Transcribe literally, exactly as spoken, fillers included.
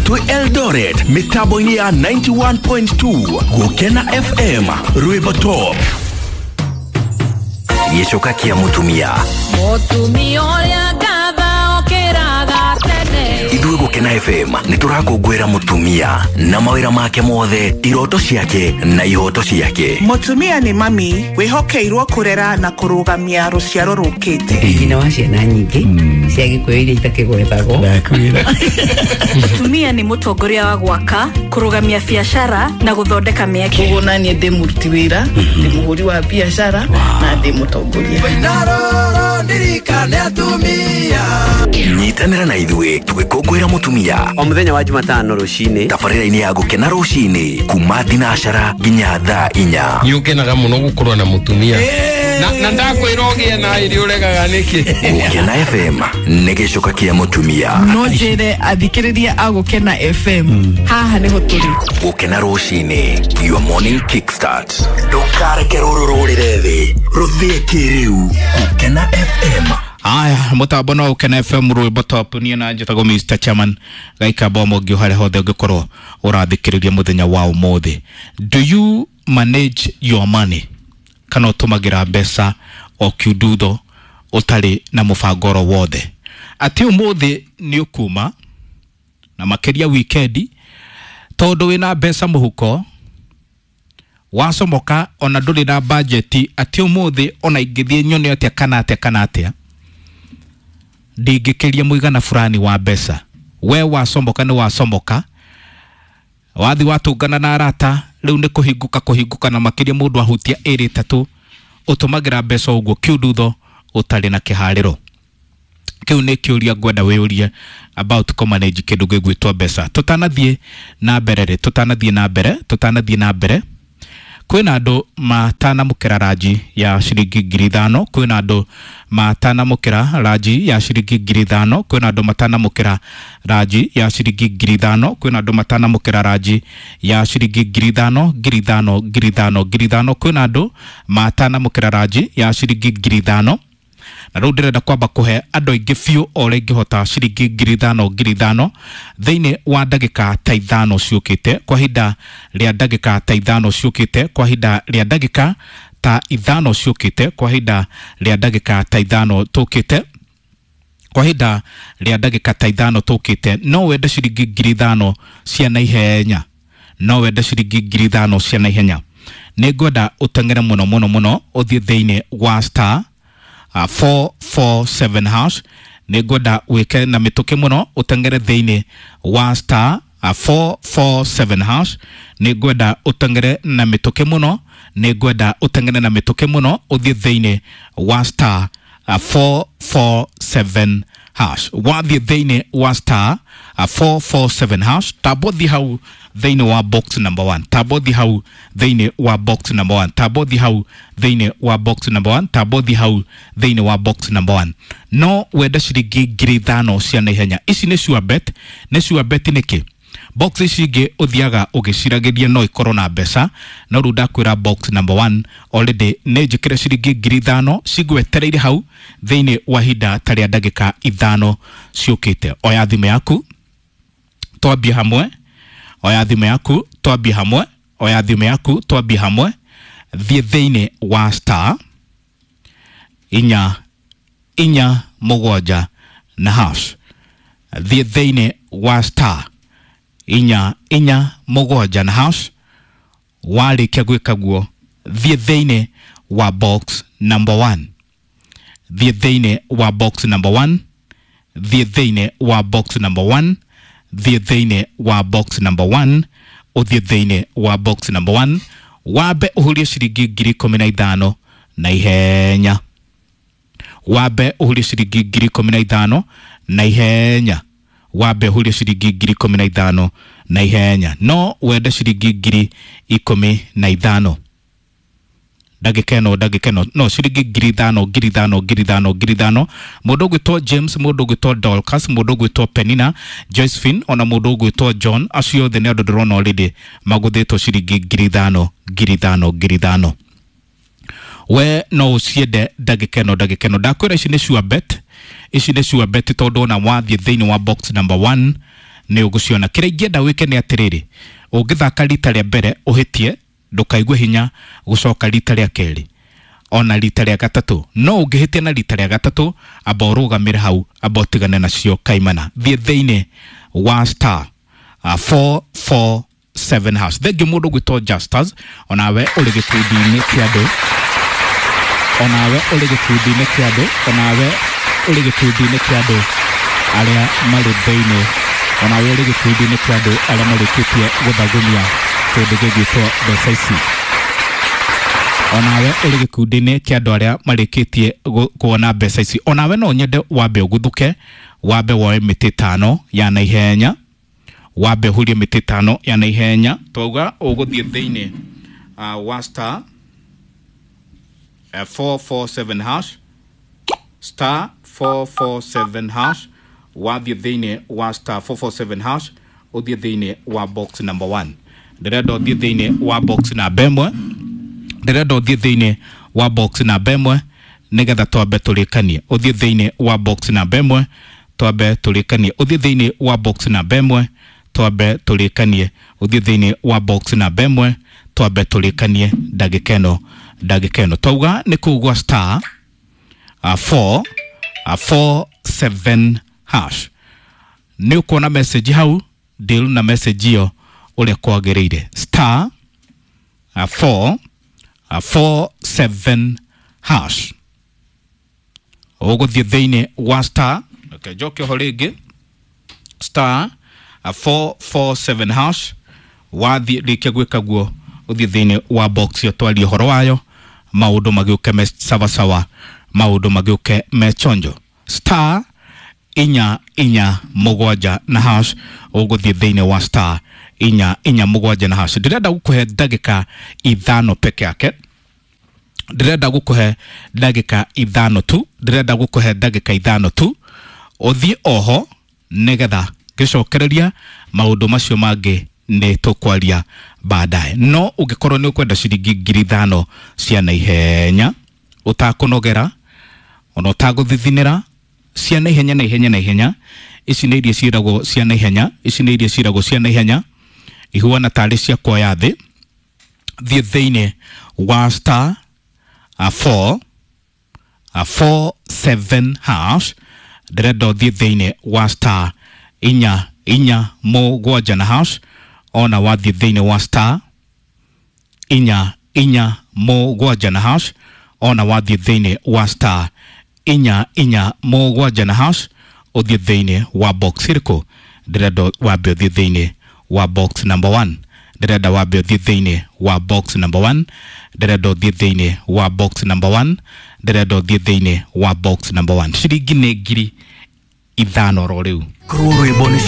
Twĩ Eldoret mĩtambo-inĩ ya ninety-one point two Gũkena F M Rwĩmbo Top. Gĩcoka kĩa mũtumia. Mũtumia ũrĩa ngatha okĩraga tene. Ithuĩ Gũkena F M nĩ tũrakũngũĩra mũtumia na mawĩra make mothe, iroto ciake na ihoto ciake. Mũtumia nĩ mami wĩhokeirwo kũrera na kũrũgamia rũciaro rũkĩte. Nyina wa ciana nyingĩ cia Gĩkũyũ iria itakĩgwetagwo. Ndakwĩra. Mũtumia nĩ mũtongoria wa gwaka, kũrũgamia biacara na gũthondeka mĩeke. Koguo na niĩ ndĩ mũruti wĩra, ndĩ mũhũri wa biacara na ndĩ mũtongoria. Nyitanĩra na ithuĩ tũgĩkũngũĩra mũtumia o mũthenya wa Jumatano rũcinĩ, tabarĩra-inĩ ya Gũkena rũcinĩ kuma thinacara nginya thaa inya. Nĩ ũkenaga mũno gũkorwo na mũtumia. Na, na ndakwĩra ũgĩe na irio ũregaga nĩkĩ? Gũkena F M nĩ gĩcoka kĩa mũtumia. No njĩre athikĩrĩria a Gũkena F M haha nĩho tũrĩ. Gũkena rũcinĩ, your morning kickstart. Ndũkareke rũrũ rũrĩre thĩ, rũthĩe kĩrĩu. Gũkena F M. Aya, mutambo no Gũkena F M Rwĩmbo Top. Niĩ na njĩtagwo Mister Chairman gaikamba mũngĩ harĩa hothe ũngĩkorwo ũrathikĩrĩria mũthenya wa ũmũthĩ. Do you manage your money? Kana ũtũmagĩra mbeca o kiundutho ũtarĩ na mũbango oro wothe? Atĩ ũmũthĩ nĩ ũkuma na makĩria wikendi, tondũ wĩna mbeca mũhuko wacomoka ona ndũrĩ na bajeti, atĩ ũmũthĩ ona ingĩthiĩ nyone atĩa kana atĩa kana atĩa ndingĩkĩria mũigana fulani wa mbeca. We wacomoka nĩ wacomoka, wathi watũngana na arata rĩu nĩ kũhingũka kũhingũka, na makĩria mũndũ ahutia ĩrĩ ĩtatũ, ũtũmagĩra mbeca ũguo kiundutho ũtarĩ na kĩharĩro. Kĩu nĩ kĩũria ngwenda wĩyũrie about kũmanage kĩndũ gĩgwĩtwo mbeca. Tũtanathiĩ na mbere rĩ, tũtanathiĩ na mbere, tũtanathiĩ na mbere, kwĩna andũ matanamũkĩra ranji ya ciringi ngiri ithano, kwĩna andũ matanamũkĩra ranji ya ciringi ngiri ithano, kwĩna andũ matanamũkĩra ranji ya ciringi ngiri ithano, kwĩna andũ matanamũkĩra ranji ya ciringi ngiri ithano, ngiri ithano, ngiri ithano, ngiri ithano, kwĩna andũ matanamũkĩra ranji ya ciringi ngiri ithano. Na rĩu ndĩrenda kwamba kũhe andũ aingĩ biũ o ũrĩa ingĩhota ciringi ngiri ithano, ngiri ithano thĩinĩ wa ndagĩka ta ithano ciũkĩte, kwa ihinda rĩa ndagĩka ta ithano ciũkĩte, kwa ihinda rĩa ndagĩka ta ithano ciũkĩte, kwa ihinda rĩa ndagĩka ta ithano tũkĩte, kwa ihinda rĩa ndagĩka ta ithano tũkĩte. No wende ciringi ngiri ithano cia naihenya, no wende ciringi ngiri ithano cia naihenya. Nĩ ngwenda ũteng'ere mũno mũno mũno ũthiĩ thĩinĩ wa star Uh, four four seven hash. Nĩ ngwenda wĩke na mĩtũkĩ mũno ũteng'ere thĩinĩ wa star uh, four four seven hash. Nĩ ngwenda ũteng'ere na mĩtũkĩ mũno, nĩ ngwenda ũteng'ere na mĩtũkĩ mũno ũthiĩ thĩinĩ wa star uh, four four seven hash. Wathiĩ thĩinĩ wa star uh, four four seven hash, tambo thiĩ hau thĩinĩ wa box number one, tambo thiĩ hau thĩinĩ wa box number one, tambo thiĩ hau thĩinĩ wa box number one, tambo thiĩ hau thĩinĩ wa box number one. No wende ciringi ngiri ithano cia naihenya. Ici nĩ sure bet, nĩ sure bet nĩkĩ? Box ici ingĩ ũthiaga ũgĩciragĩria no ikorwo na mbeca, no rĩu ndakwĩra box number one already nĩ njĩkĩre ciringi ngiri ithano cigwetereire hau thĩinĩ wa ihinda ta rĩa ndagĩka ithano ciũkĩte. Oya thimũ yaku twambie hamwe, oya thimũ yaku twambie hamwe, oya thimũ yaku twambie hamwe. Thiĩ thĩinĩ wa star inya inya mũgwanja na hash. Thiĩ thĩinĩ wa star inya inya mũgwanja na hash. Warĩkia gwĩka guo, thiĩ thĩinĩ wa box number one, thiĩ thĩinĩ wa box number one, thiĩ thĩinĩ wa box number one, thiĩ thĩinĩ wa box number one, ũthiĩ thĩinĩ wa box number one, wambe ũhurie ciringi ngiri ikũmi na ithano na ihenya, wambe ũhurie ciringi ngiri ikũmi na ithano na ihenya, wambe ũhurie ciringi ngiri ikũmi na ithano na ihenya. No wende ciringi ngiri ikũmi na ithano ndagĩka ĩno, ndagĩka ĩno no ciringi ngiri ithano, ngiri ithano, ngiri ithano, ngiri ithano. Mũndũ ũgwĩtwo James, mũndũ ũgwĩtwo Dorcas, mũndũ ũgwĩtwo Penina, Josephine, ona mũndũ ũgwĩtwo John, acio othe nĩ andũ ndĩrona already magũthĩtwo ciringi ngiri ithano, ngiri ithano, ngiri ithano. We no ũciende ndagĩka ĩno, ndagĩka ĩno. Ndakwĩra ici nĩ sure bet, ici nĩ sure bet tondũ ona wathiĩ thĩinĩ wa box number one Nĩ ũgũciona. Kĩrĩa ingĩenda wĩke nĩ atĩrĩrĩ, ũngĩthaka rita rĩa mbere ũhĩtie, ndũkaigue hinya gũcoka rita rĩa kerĩ ona rita rĩa gatatũ. No ũngĩhĩtia na rita rĩa gatatũ, amba ũrũgamĩre hau, amba ũtigane nacio kaimana. Thiĩ thĩinĩ wa star uh, four four seven hash. Thengiũ mũndũ gwĩtwo Justus, onawe ũrĩ gĩkundi-inĩ kĩa andũ, onawe ũrĩ gĩkundi-inĩ kĩa andũ, onawe ũrĩ gĩkundi-inĩ kĩa andũ arĩa marĩ thĩinĩ, onawe ũrĩ gĩkundi-inĩ kĩa andũ arĩa marĩkĩtie gũthagumia kĩndũ gĩgwĩtwo mbeca ici. Onawe ũrĩ gĩkundi-inĩ kĩa andũ arĩa marĩkĩtie kuona mbeca ici, onawe no nyende wambe ũguthũke, wambe woe mĩtĩ ĩtano ya naihenya, wambe ũhurie mĩtĩ ĩtano ya naihenya. Twauga ũgũthiĩ thĩinĩ uh, wa star uh, four four seven hash, star four four seven hash. Wathiĩ thĩinĩ wa star four four seven hash, ũthiĩ thĩinĩ wa box number one. Ndĩrenda ũthiĩ thĩinĩ wa box namba ĩmwe, ndĩrenda ũthiĩ thĩinĩ wa box namba ĩmwe nĩgetha twambe tũrĩkanie. Ũthiĩ thĩinĩ wa box namba ĩmwe twambe tũrĩkanie. Ũthiĩ thĩinĩ wa box namba ĩmwe twambe tũrĩkanie. Ũthiĩ thĩinĩ wa box namba ĩmwe twambe tũrĩkanie ndagĩka ĩno, ndagĩka ĩno. Twauga nĩ kũu gwa star uh, four uh, four seven hash. Nĩ ũkuona message hau, deal na message ĩyo ũrĩa kwagĩrĩire. Star uh, four uh, four seven hash. Ũgũthiĩ thĩinĩ wa star, okay, njoke ho rĩngĩ, star uh, four four seven hash. Wathiĩ rĩkia gwĩka guo, ũthiĩ thĩinĩ wa box ĩyo twarie ũhoro wayo, maũndũ magĩũke me sawasawa, maũndũ magĩũke me chonjo. Star inya inya mũgwanja na hash, ũgũthiĩ thĩinĩ wa star inya inya mũgwanja na hash. Ndĩrenda gũkũhe ndagĩka ithano peke yake, ndĩrenda gũkũhe ndagĩka ithano tu, ndĩrenda gũkũhe ndagĩka ithano tu, ũthiĩ oho nĩgetha ngĩcokereria maũndũ macio mangĩ nĩ tũkwaria baadaye. No ũngĩkorwo nĩ ũkwenda ciringi ngiri ithano cia naihenya, ũtakũnogera ona ũtagũthithinĩra, cia naihenya naihenya naihenya, ici nĩ iria ciĩragwo cia naihenya, ici nĩ iria ciĩragwo cia naihenya, ihuana tarĩ cia kuoya thĩ. Thiĩ thĩinĩ wa star uh, four uh, four seven hash. Ndĩrenda ũthiĩ thĩinĩ wa star inya inya mũgwanja na hash. Ona wathiĩ thĩinĩ wa star inya inya mũgwanja na hash, ona wathiĩ thĩinĩ wa star inya inya mũgwanja na hash, ũthiĩ thĩinĩ wa box ĩrĩkũ? Ndĩrenda wambe ũthiĩ thĩinĩ wa box number one. Ndĩrenda wambe ũthiĩ thĩinĩ wa box number one. Ndĩrenda ũthiĩ thĩinĩ wa box number one. Ndĩrenda ũthiĩ thĩinĩ wa box number one. Ciringi nĩ ngiri ithano ro rĩu. Korwo rwĩmbo nĩ